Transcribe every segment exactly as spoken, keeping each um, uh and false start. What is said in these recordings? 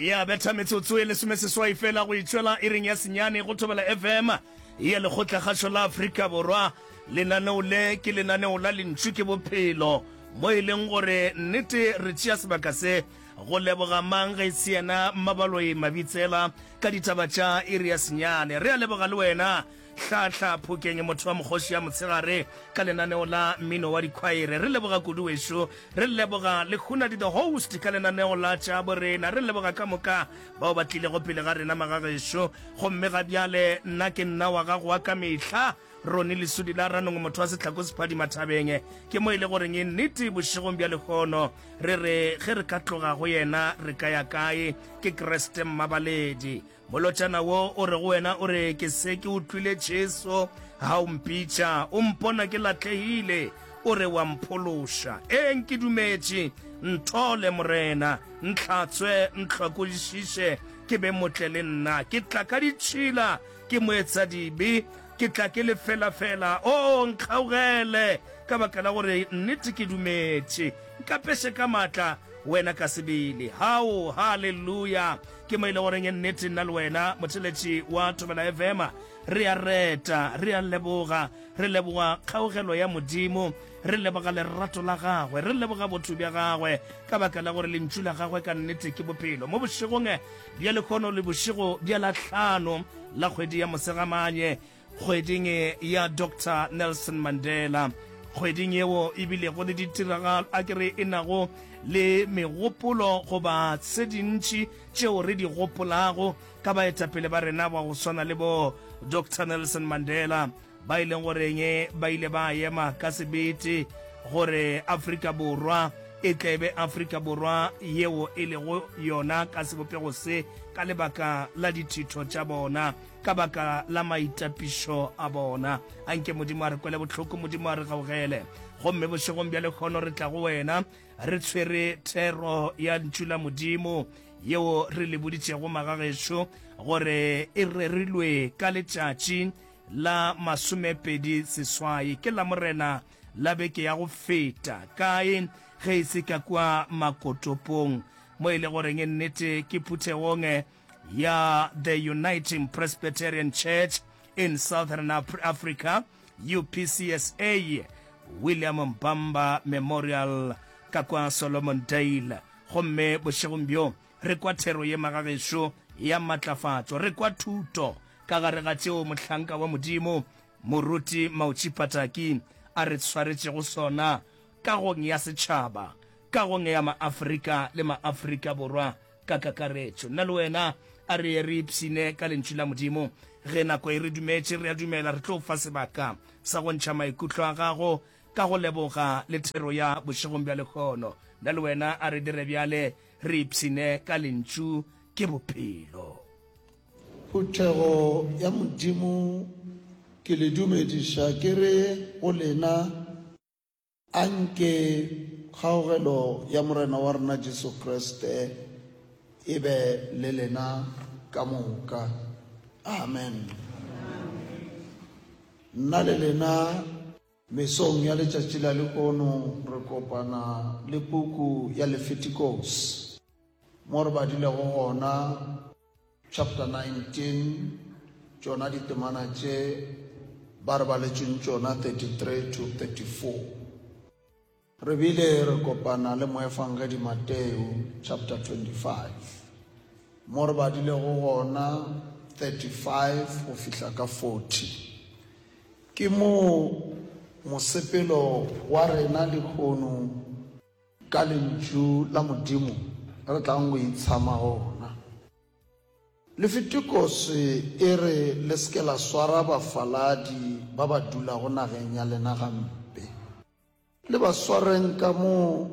Ya betha metsotso e lesomeseswai fela go itšwela iring ya senyane go Thobela F M ya Lekgotlakgašo la Afrika Borwa. Lenaneo le ke lenaneo la Lentšu ke Bophelo, mo e leng gore nnete re tšea sebaka se go leboga mang ge e se yena Mmabaloi Mabitsela ka ditaba tša iri ya senyane. Re a leboga le wena Hlahla Phokeng, motho wa mokgoši ya motshegare ka lenaneo la mmino wa dikhwaere. Re leboga kudu wešo. Re leboga le Hunadi the host ka lenaneo la tša borena. Re leboga ka moka bao ba tlilego pele ga rena magagešo. Gomme ga bjale nna ke nna wa gago wa ka mehla, Ronnie Lesudi la Ranong, motho wa sehlako sephadima thabeng. Ke mo e le goreng e nnete bošegong bja lehono re re ge re ka tloga go yena re ka ya kae? Ke Kriste Mmabaledi. Molotšana wo o re go wena o re, Ke se ke utlwile Jesu ha o mpitša, o mpona ke latlehile, o re wa mphološa. Ee, nke dumetše, nthole Morena, ntlhatswe, ntlhakodišiše, ke be motle le nna. Ke tla ka ditšhila, ke moetsadibe, ke tla ke le felafela. Oo, nkgaugele, ka baka la gore nnete ke dumetše. Nkapeše ka maatla, wena ka sebele. Hao, haleluya! Ke mo e le goreng nnete nna le wena, motheletši wa Thobela F M, re a reta, re a leboga, re leboga kgaugelo ya Modimo, re leboga lerato la gagwe, re leboga botho bja gagwe, ka baka la gore lentšu la gagwe ka nnete ke bophelo. Mo bošegong bja lehono le bošego bja la hlano la kgwedi ya Mosegamanye, kgweding ya Doctor Nelson Mandela, kgweding yeo e bilego le ditiragalo, a ke re e nago le megopolo goba tse dintši tšeo re di gopolago ka baetapele ba rena ba go swana le bo Doctor Nelson Mandela, ba e leng goreng ba ile ba ema ka sebete gore Afrika Borwa e tle be Afrika Borwa yeo e lego yona ka sebopego se ka lebaka la dithitho tša bona, ka baka la maitapišo a bona. Anke Modimo a re kwele bohloko, Modimo a re gaugele. Gomme bošegong bja lehono re tla go wena re tshwere thero ya Ntšu la Modimo yeo re le boditšego magagešo gore e rerilwe ka letšatši la masomepedi seswai ke Lamorena la beke ya go feta. Kae ge e se ka kua Makotopong, mo e le goreng nnete ke phuthegong ya The Uniting Presbyterian Church in Southern Africa, U P C S A, William Mbamba Memorial ka kwa Solomon Dale. Gomme bošegong bjo re kwa thero ye magagešo ya matlafatšo, re kwa thuto ka gare ga tšeo mohlanka wa Modimo Moruti Mautši Pataki a re tshwaretšego sona kagong ya setšhaba, kagong ya Maafrika le Maafrika Borwa ka kakaretšo. Nna le wena a re ye re ipshine ka Lentšu la Modimo. Ge nako e re dumetše, re a dumela re tlo fa sebaka sa go ntšha maikutlo a gago ka go leboga le thero ya bošegong bja lehono. Nna le wena a re dire bjale re ipshine ka Lentšu ke Bophelo. Phuthego ya Modimo, ke le dumediša ke re go lena, anke kgaogelo ya Morena wa rena Jesu Kriste e be le lena ka moka. Amen. Nna le lena mesong ya letšatši la lehono re kopana le puku ya Lefitikos, mo re badilego gona chapter nineteen, tšona ditemana tše ba re baletšeng tšona thirty-three to thirty-four. Re bile re kopana le moefangedi Mateo chapter twenty-five, mo re badilego gona thirty-five go fihla ka forty. Ke mo mosepelo wa rena lehono ka lentšu la Modimo re tlang go itshama gona. Lefitikos e re le se ke la swara bafaladi ba ba dulago nageng ya lena gampe. Le ba swareng ka mo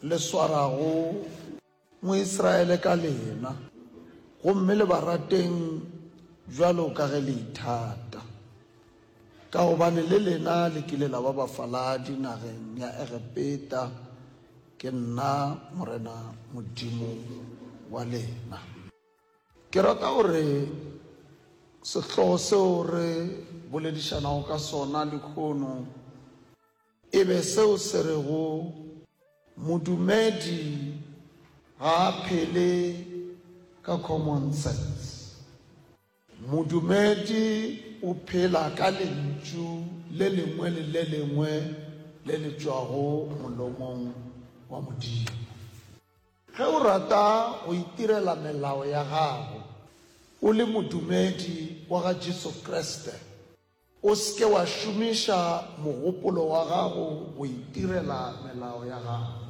le swarago Moisraele ka lena, gomme le ba rateng bjalo ka ge le ithata, ka gobane le lena le kile la ba bafaladi nageng ya Egepeta. Ke nna Morena Modimo wa lena. Ke rata gore sehlogo seo re boledišanago ka sona lehono e be seo se rego modumedi ga a phele ka common sense. Modumedi o phela ka lentšu le lengwe le le lengwe le le tšwago molomong wa Modimo. Ge o rata go itirela melao ya gago o le modumedi wa ga Jesu Kriste, o se ke wa šomiša mogopolo wa gago go itirela melao ya gago.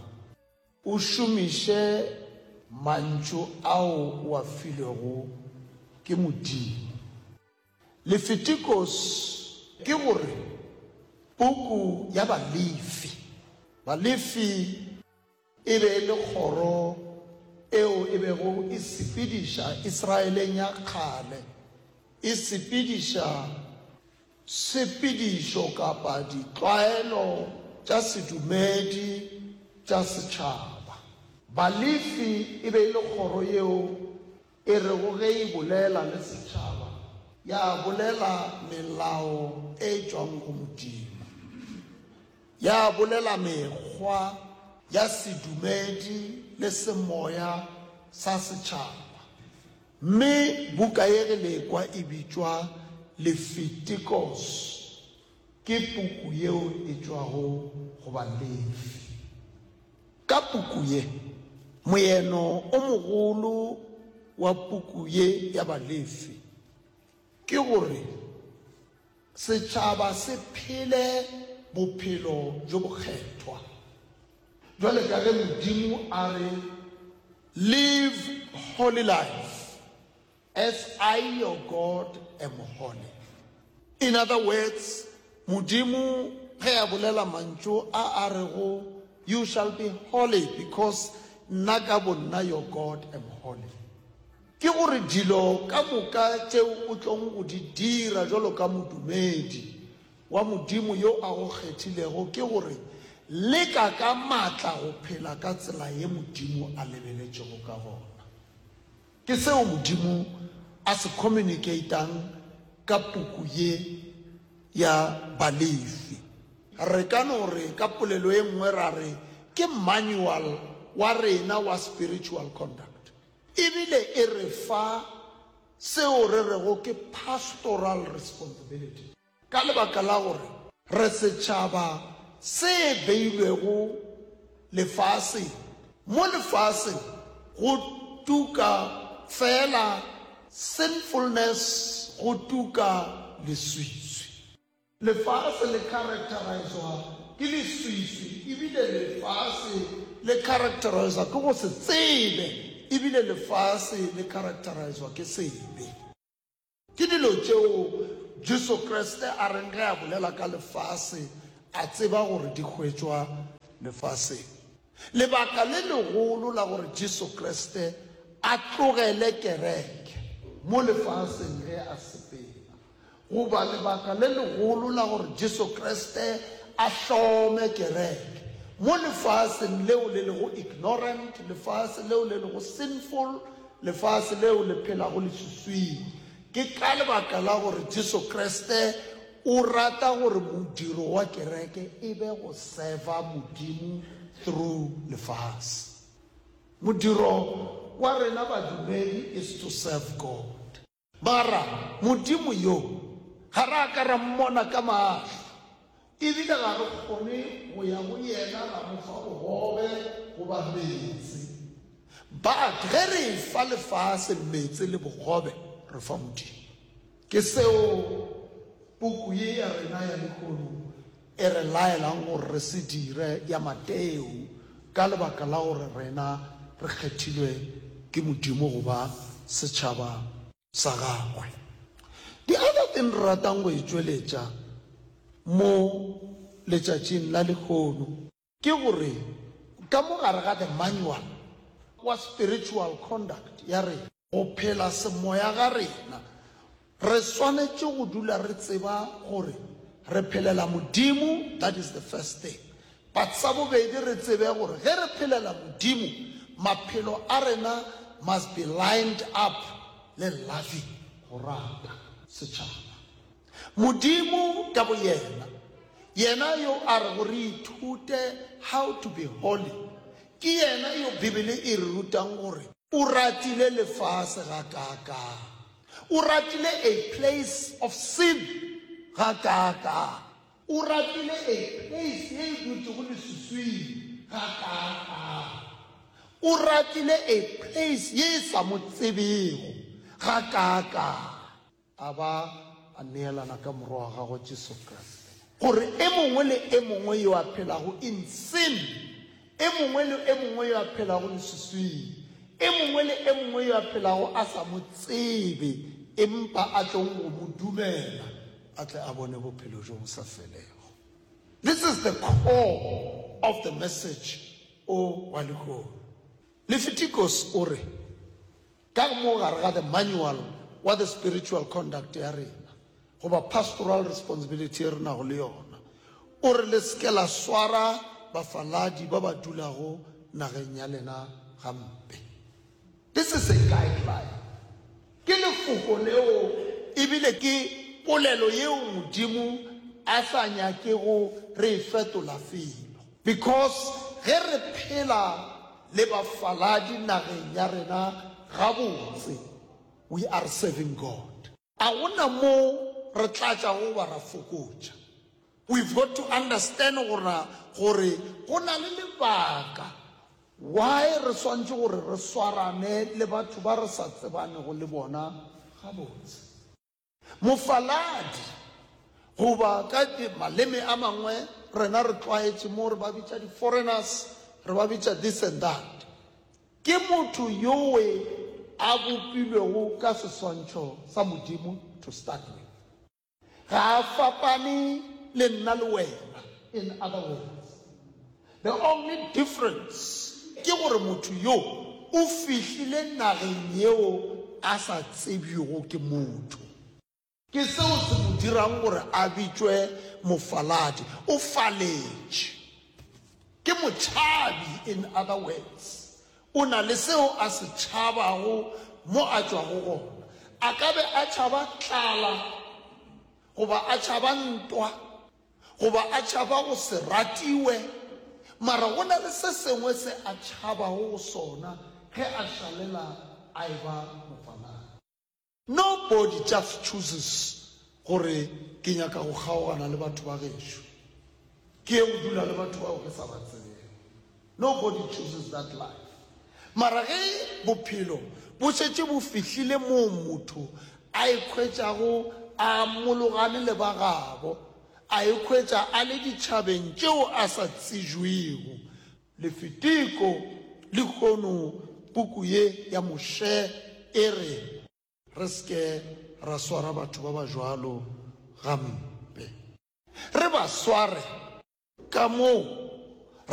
O šomiše mantšu ao o a filwego ke Modimo. Lefitikos ke gore puku ya Balefi. Balefi e be e le kgoro eo e bego e sepediša Israeleng ya kgale, e sepediša sepedišo kapa ditlwaelo tša sedumedi tša setšhaba. Balefi e be e le kgoro yeo e rego ge e bolela le setšhaba ya bolela melao e tšwang go Modimo, ya bolela mekgwa ya sedumedi le semoya sa setšhaba. Mme buka ye ge le ekwa e bitšwa Lefitikos, ke puku yeo e tšwago go Balefi. Ka puku ye, moeno o mogolo wa puku ye ya Balefi ke gore setšhaba se phele bophelo bjo bokgethwa. Bjale ka ge Modimo a re, Live holy life, as I your God am holy. In other words, Modimo ge a bolela mantšu a a rego, You shall be holy because nna ka bonna your God am holy. Ke gore dilo ka moka tšeo o tlong go di dira jwalo ka modumedi wa Modimo yo a go kgethilego ke gore leka ka matla go phela ka tsela ye Modimo a lebeletšego ka gona. Ke seo Modimo a se communicatang ka puku ye ya Balefi. Re ka no re ka polelo e nngwe ra re ke manual wa rena wa spiritual conduct. Ebile e re fa seo re rego ke pastoral responsibility. Ka lebaka la gore re setšhaba se beilwego lefaseng, mo lefaseng go tuka fela sinfulness, go tuka leswiswi. Lefase le characterizwa ke leswiswi, ebile lefase le characterizwa ke go se tsebe, ebile lefase le characterizwa ke sebe. Ke dilo tšeo Jesu Kriste a reng ge a bolela ka lefase a tseba gore di hwetšwa lefaseng. Lebaka le legolo la gore Jesu Kriste a tlogele kereke mo lefaseng ge a sepela, goba lebaka le legolo la gore Jesu Kriste a hlome kereke mo lefaseng leo le lego ignorant, lefase leo le lego sinful, lefase leo le phelago leswiswing, ke ka lebaka la gore Jesu Kriste o rata gore modiro wa kereke e be go serva Modimo through lefase. Modiro wa rena badumedi is to serve God. Mara Modimo yo ga re a ka ra mmona ka mahlo, ebile ga re kgone go ya go yena ra mo fa bogobe goba meetse. But ge re fa lefase meetse le bogobe, re fa Modimo. Ke seo puku ye ya rena ya lehono e re laelang gore re se dire ya Mateo, ka lebaka la gore rena re kgethilwe ke Modimo go ba setšhaba sa gagwe. The other thing re ratang go e tšweletša mo letšatšing la lehono ke gore ka mo gare ga the manual wa spiritual conduct ya rena, go phela semoya ga rena, re swanetše go dula re tseba gore re phelela Modimo, that is the first thing. But sa bobedi re tsebe gore ge re phelela Modimo, maphelo a rena must be lined up le loving, go rata setšhaba. Modimo ka boyena, yena yo a re go re ithute how to be holy, ke yena yo Bibele e re rutang gore O ratile lefase gakaakang. O ratile a place of sin gakaakang. O ratile a place ye e dutšego leswiswing gakaakang. O ratile a place ye e sa mo tsebego gakaakang. A ba a neelana ka Morwa wa gagwe Jesu Kriste, gore e mongwe le e mongwe yo a phelago in sin, e mongwe le e mongwe yo a phelago leswiswing, e mongwe le e mongwe yo a phelago a sa mo tsebe, empa a tlong go mo dumela, a tle a bone bophelo bjo bo sa felego. This is the core of the message o wa lehono. Lefitikos o re, ka mo gare ga the manual wa the spiritual conduct ya rena, goba pastoral responsibility ye re nago le yona, o re le se ke la swara bafaladi ba ba dulago nageng ya lena gampe. This is a guideline. Ke lefoko leo ebile ke polelo yeo Modimo a sa nyakego re e fetola felo. Because ge re phela le bafaladi nageng ya rena gabotse, we are serving God. A go na mo re tlatšago goba ra fokotša. We've got to understand gora gore go na le lebaka why re swantše gore re swarane le batho ba re sa tsebanego le bona gabotse. Mofaladi, goba ka maleme a mangwe rena re tlwaetše mo re ba bitša di-foreigners, re ba bitša this and that, ke motho yowe a bopilwego ka seswantšho sa Modimo to start with. Ga a fapane le nna le wena, in other words. The only difference ke gore motho yo o fihlile nageng yeo a sa tsebjego ke motho. Ke seo se mo dirang gore a bitšwe mofaladi. O faletše. Ke motšhabi, in other words. O na le seo a se tšhabago mo a tšwago gona. A ka be a tšhaba tlala, goba a tšhaba ntwa, goba a tšhaba go se ratiwe, mara go na le se sengwe se a tšhabago go sona ge a šalela a e ba mofaladi. Nobody just chooses gore ke nyaka go kgaogana le batho ba gešo, ke ye go dula le batho bao ke sa ba tsebego. Nobody chooses that life. Mara ge bophelo bo šetše bo fihlile moo motho a ikhwetšago a mologane le ba gabo, a ikhwetša a le ditšhabeng tšeo a sa tsejwego, Lefitiko lehono puku ye ya Moshe e re re se ke ra swara batho ba ba jwalo gampe, re ba sware ka moo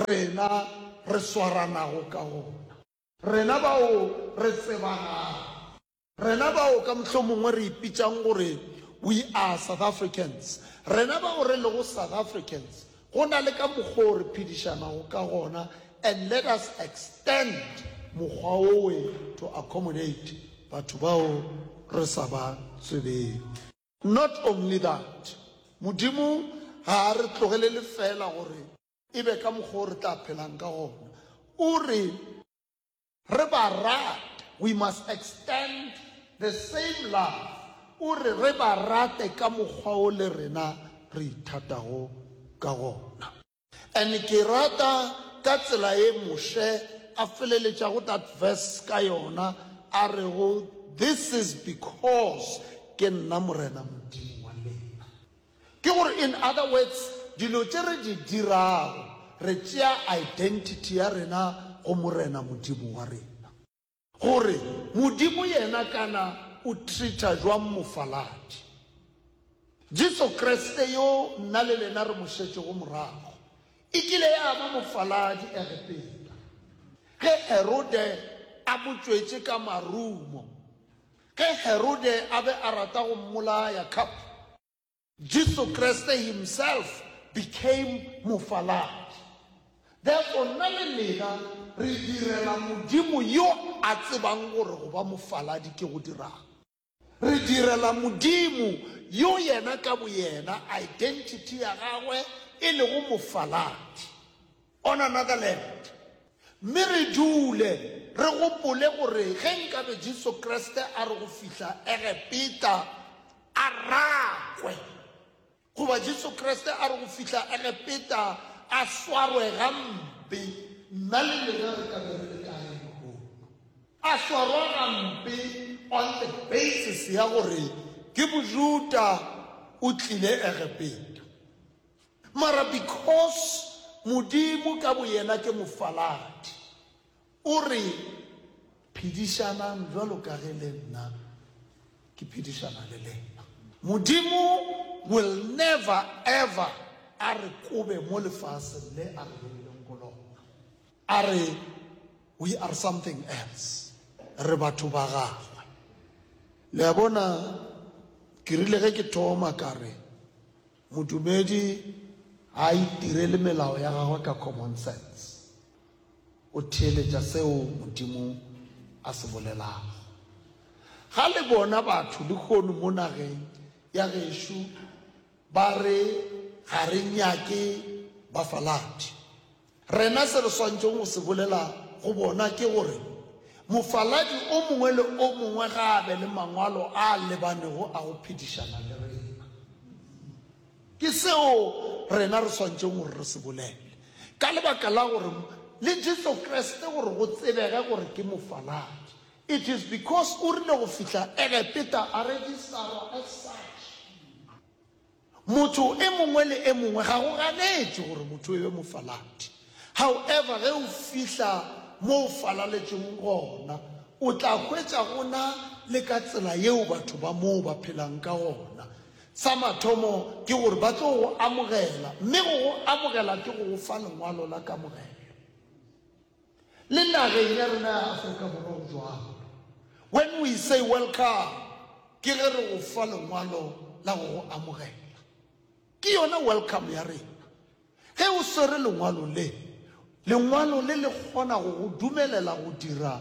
rena re swaranago ka gona, rena bao re tsebanago, rena bao ka mohlomongwe re ipitšang gore we are South Africans, rena bao re lego South Africans, go na le ka mokgwa o re phedišanago ka gona, and let us extend mokgwa owe to accommodate batho bao re sa ba tsebego. Not only that, Modimo ga a re tlogelele fela gore e be ka mokgwa o re tla phelang ka gona. O re re ba rate, we must extend the same love. O re re ba rate ka mokgwa o le rena re ithatago ka gona. And ke rata ka tsela ye Moshe a feleletšago that verse ka yona, a rego, this is because ke nna Morena Modimo wa lena. Ke gore in other words, dilo tše re di dirago, re tšea identity ya rena go Morena Modimo wa rena. Gore Modimo yena kana o treata jwang mofaladi. Jesu Kriste yo nna le lena re mo šetšego morago, e kile ya ba mofaladi Egepeta. Ge Herode a mo tšwetše ka marumo, ge Herode a be a rata go mmolaya cup, Jesu Kriste himself became mofaladi. Therefore, nna le lena re direla Modimo yo a tsebang gore go ba mofaladi ke go dirang. Re direla Modimo yo yena ka boyena identity ya gagwe e lego mofaladi on another land. Mme re dule re gopole gore ge nkabe Jesu Kriste a re go fihla Egepeta a rakwe, goba Jesu Kriste a re go fihla Egepeta a swarwe gampe, nna le lena re ka be re le kae lehono? A swarwa gampe on the basis ya gore ke Mojuda o tlile Egepeta. Mara because Modimo ka boyena ke mofaladi, o re, Phedišanang bjalo ka ge le nna ke phedišana le lena. Modimo will never ever a re kobe mo lefaseng le a re beileng go lona. A re we are something else. Re batho ba gagwe. Le a bona, ke rile ge ke thoma ka re modumedi ga a itirele melao ya gagwe ka common sense. O theeletša seo Modimo a se bolelago. Ga le bona batho lehono mo nageng ya gešo ba re ga re nyake bafaladi, rena se re swantšego go se bolela go bona ke gore mofaladi o mongwe le o mongwe ga a be le mangwalo a lebanego a go phedišana le rena. Ke seo rena re swantšego gore re se bolele, ka lebaka la gore le Jesu Kriste gore go tsebege gore ke mofaladi, it is because o rile go fihla Egepeta a registerwa as such. Motho e mongwe le e mongwe ga go ganetše gore motho e be mofaladi. However, ge o fihla mo o falaletšeng gona, o tla hwetša gona le ka tsela yeo batho ba moo ba phelang ka gona. Sa mathomo ke gore ba tlo go amogela, mme go go amogela ke go go fa lengwalo la kamogelo. Le nageng ya rena ya Afrika Borwa go jwalo. When we say welcome, ke ge re go fa lengwalo la go go amogela. Ke yona welcome ya rena. Ge o swere lengwalo le, lengwalo le le kgona go go dumelela go dira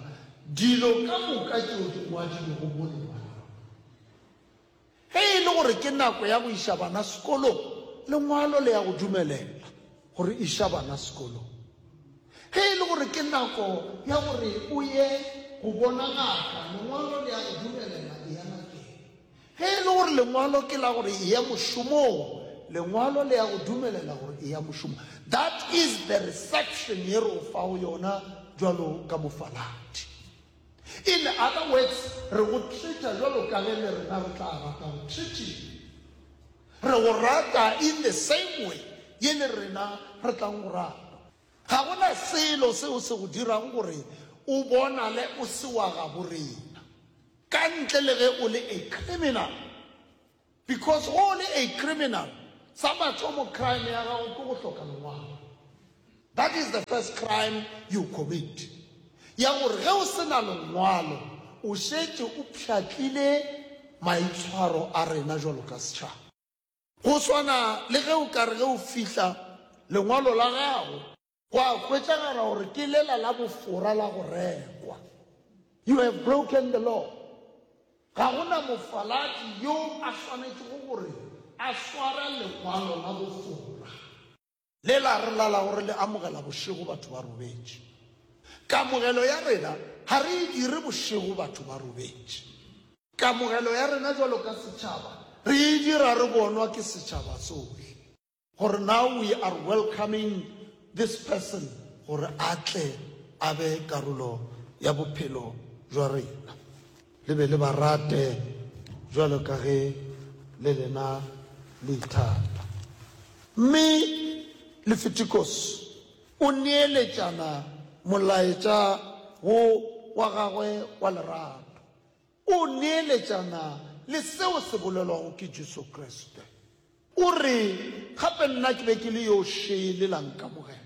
dilo ka moka tšeo di ngwadilwego mo lengwalong. Ge e le gore ke nako ya go iša bana sekolong, lengwalo le ya go dumelela gore iša bana sekolong. Ge e le gore ke nako ya gore o ye go bona ngaka, lengwalo le ya go dumelela e ya ngakeng. Ge e le gore lengwalo ke la gore e ya mošomong, lengwalo le ya go dumelela gore e ya mošomong. That is the reception ye re o fago yona jwalo ka mofaladi. In other words, re go treata jwalo ka ge le rena re tla rata go treatiwa. Re go rata in the same way ye le rena re tlang go rata. Ga gona selo seo se go dirago gore o bonale o se wa gabo rena, ka ntle le ge o le a criminal. Because go le a criminal, sa mathomo crime ya gago ke go hloka lengwalo. That is the first crime you commit. Ya gore ge o se na lengwalo, o šetše o pšhatlile maitshwaro a rena jwalo ka setšhaba. Go swana le ge o ka re ge o fihla lengwalo la gago, gwa hwetšagala gore ke lela la bofora la go rekwa. You have broken the law. Ga gona mofaladi yo a swanetšego gore a sware lengwalo la bofora. Le la re lala gore le amogela bošego batho ba robetše. Kamogelo ya rena ga re e dire bošego batho ba robetše. Kamogelo ya rena jwalo ka setšhaba re e dira re bonwa ke setšhaba sohle. Gore now we are welcoming this person gore a tle a be karolo ya bophelo jwa rena. Le be le ba rate jwalo ka ge le lena le ithata. Mme Leviticus o neeletšana molaetša wo wa gagwe wa lerato. O neeletšana le seo se bolelwago ke Jesu Kriste. O re gape nna ke be ke le yo šele la nkamogela.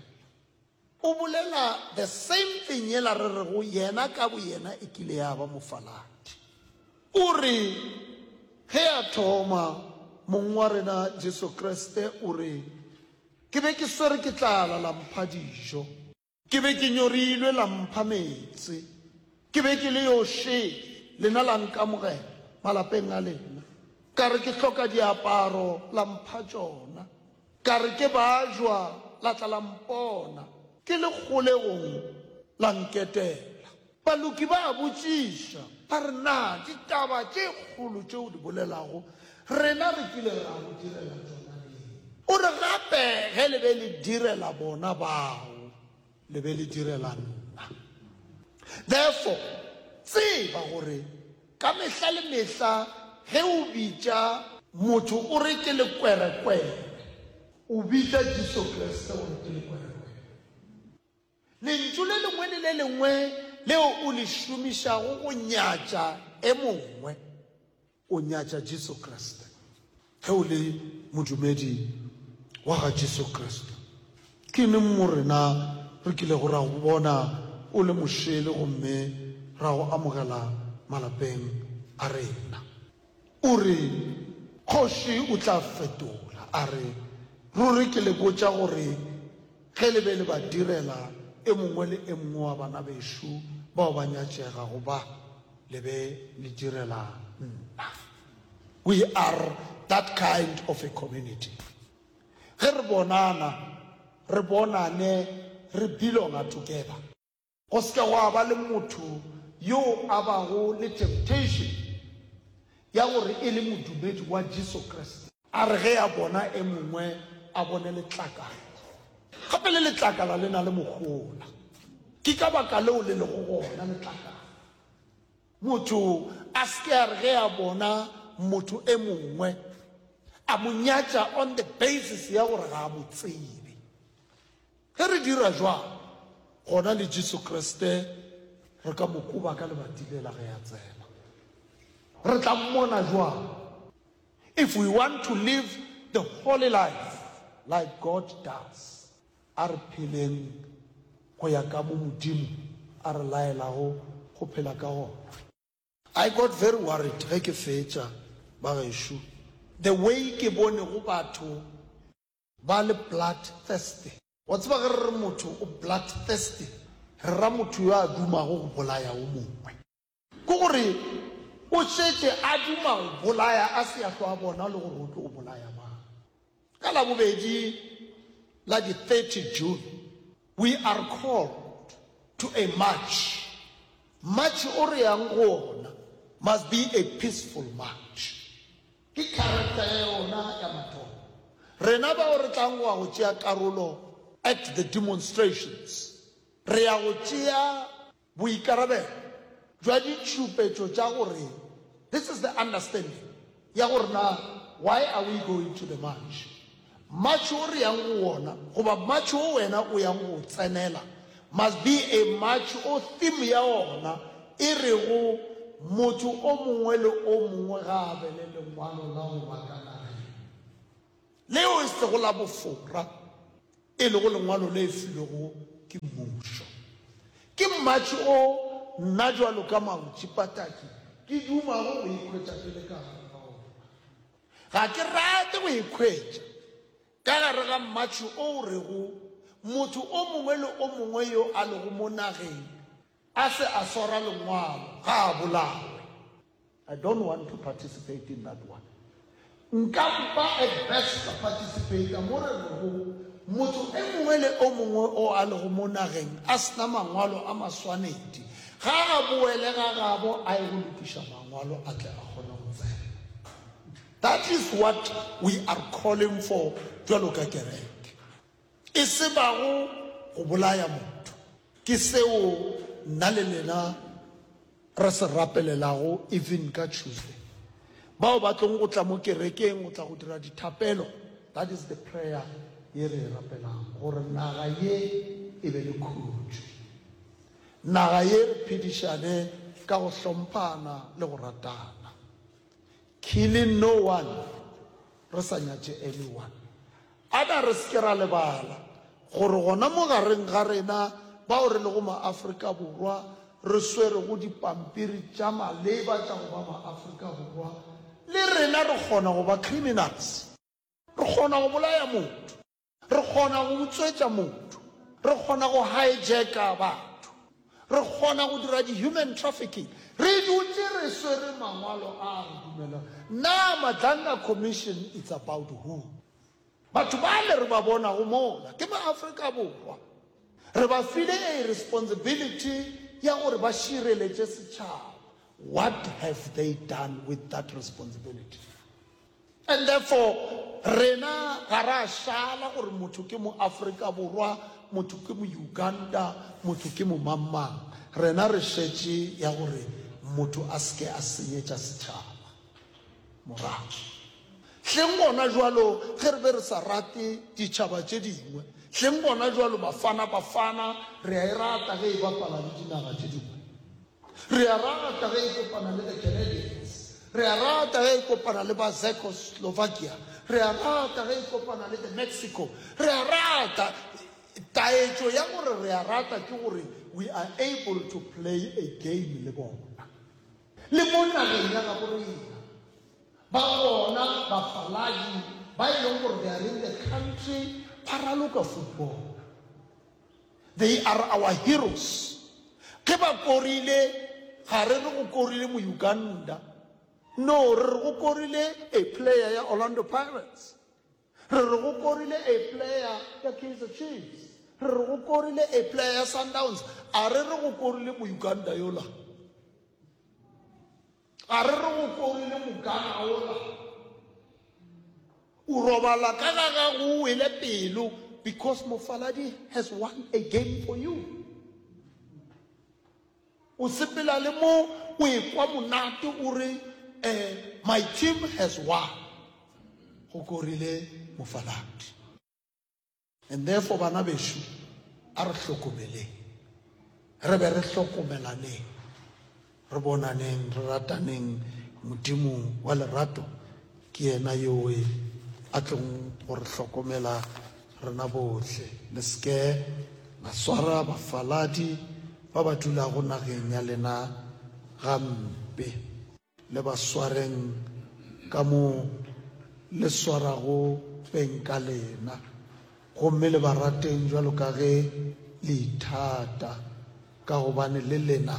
O bolela the same thing yela re rego yena ka boyena e kile ya ba mofaladi. O re ge a thoma mong wa rena Jesu Kriste o re ke be ke swere ke tlala la mpha dijo, ke be ke nyorilwe la mpha meetse, ke be ke le yo šele lena la nkamogela malapeng a lena, ka re ke hloka diaparo la mpha tšona, ka re ke bajwa la tla la mpona, ke le kgolegong la nketela. Baloki ba a botšiša, ba re, Na ditaba tše kgolo tše o di bolelago, rena re kile ra go direla tšona neng? O re, Gape ge le be le direla bona bao, le be le direla nna. Therefore, tseba gore ka mehla le mehla ge o bitša motho o re ke lekwerekwere, o bitša Jesu Kriste gore ke lekwerekwere. Lentšu le lengwe le le lengwe leo o le šomišago go nyatša e mongwe, o nyatša Jesu Kriste. Ge o le modumedi wa ga Jesu Kriste, ke neng mo rena re kilego ra go bona o le mošele gomme ra go amogela malapeng a rena? O re, Kgoši o tla fetola a re, Ruri ke le botša gore ge le be le ba direla e mongwe le e mongwe wa bana bešo bao ba nyatšegago ba, le be le direla nna. We are that kind of a community. Ge re bonana, re bonane re belonga together. Go se ke gwa ba le motho yo a bago le temptation ya gore e le modumedi wa Jesu Kriste, a re ge a bona e mongwe a bone letlakala. Gape le letlakala le na le mohola. Ke ka baka leo le lego gona letlakala. Motho a se ke a re ge a bona motho e mongwe a mo nyatša on the basis ya gore ga a mo tsebe. Ge re dira jwalo, gona le Jesu Kriste re ka mo koba ka lebati lela ge a tsena. Re tla mmona jwang? If we want to live the holy life like God does, a re pheleng go ya ka mo Modimo a re laelago go phela ka gona. I got very worried ge ke fetša, bagešo, the way ke bonego batho ba le blood thirsty. Wa tseba ge re re motho o blood thirsty, re ra motho yo a dumago go bolaya o mongwe. Ke gore o šetše a duma go bolaya a se a hlwa a bona le gore o tlo bolaya mang. Ka Labobedi la di thirty June, we are called to a march. March o re yang go ona must be a peaceful march. Ke character ya yona ya mathomo. Rena bao re tlang go ya go tšea karolo at the demonstrations, re ya go tšea boikarabelo bja ditšhupetšo tša gore, this is the understanding ya gore na why are we going to the march. March o re yang go wona goba march o wena o yang go o tsenela must be a march o theme ya ona e rego motho o mongwe le o mongwe ga a be le lengwalo la go ba ka nageng leo e sego la bofora, e lego lengwalo le filwego ke mmušo. Ke march o nna bjalo ka Mautši Pataki ke dumago go ikhwetša ke le ka gare ga ona. Ga ke rate go ikhwetša ka gare ga march o o rego motho o mongwe le o mongwe yo a lego mo nageng a se a swara lengwalo ga a bolawe. I don't want to participate in that one. Nka mpa at best ka participate mo re rego motho e mongwe le o mongwe o a lego mo nageng a sena mangwalo a maswanedi ga a boele ga gabo a ye go lokiša mangwalo a tle a kgone go tsena. That is what we are calling for bjalo ka kereke. E se bago go bolaya motho. Ke seo nna le lena re se rapelelago even ka Tuesday. Bao ba tlong go tla mo kerekeng go tla go dira dithapelo, that is the prayer ye re e rapelang, gore naga ye e be le khutšo. Naga ye re phedišane ka go hlomphana le go ratana. Killing no one, re sa nyatše anyone. A na re se ke ra lebala gore gona mo gareng ga rena bao re lego ma-Afrika Borwa re swerego dipampiri tša maleba tša go ba ma-Afrika Borwa, le rena re kgona go ba criminals. Re kgona go bolaya motho, re kgona go utswetša motho, re kgona go hijacka batho, re kgona go dira di-human trafficking. Re dutše re swere mangwalo a re dumelang. Na Madlanga Commission it's about who? Batho bale re ba bonago mola ke ma-Afrika Borwa. Re ba file a responsibility ya gore ba šireletše setšhaba. What have they done with that responsibility? And therefore, rena ga ra šala gore motho ke mo Afrika Borwa, motho ke mo Uganda, motho ke mo mang-mang. Rena re šetše ya gore motho a se ke a senyetša setšhaba morago. Hleng gona jwalo ge re be re sa rate ditšhaba tše dingwe, hleng gona jwalo Bafana Bafana re a e rata ge e bapala le dinaga tše dingwe. Re a rata ge e kopana le the Canadians. Re a rata ge e kopana le ba Czechoslovakia. Re a rata ge e kopana le the Mexico. Re a rata. Taetšo ya gore re a rata ke gore we are able to play a game le bona. Le mo nageng ya gabo rena, ba gona bafaladi ba e leng gore they are in the country ba raloka football. They are our heroes. Ge ba korile, ga re re go korile mo Uganda. No, re re go korile a player ya Orlando Pirates. Re re go korile a player ya Kaizer Chiefs. Re re go korile a player ya Sundowns. A re re go korile mo Uganda yola. A re re go korile mo Ghana ola. O robala ka ga gago o wele pelo because mofaladi has won a game for you. O sepela le mo o ekwa monate o re, eh, my team has won. Go korile mofaladi. And therefore bana bešo, a re hlokomeleng. Re be re hlokomelaneng. Re bonaneng, re rataneng. Modimo wa lerato ke yena yoe a tlong go re hlokomela rena bohle. Le se ke la swara bafaladi ba ba dulago nageng ya lena gampe. Le ba swareng ka mo le swarago beng ka lena, gomme le ba rateng jwalo ka ge le ithata, ka gobane le lena,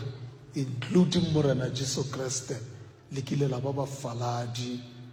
including Morena Jesu Kriste, le kile la ba bafaladi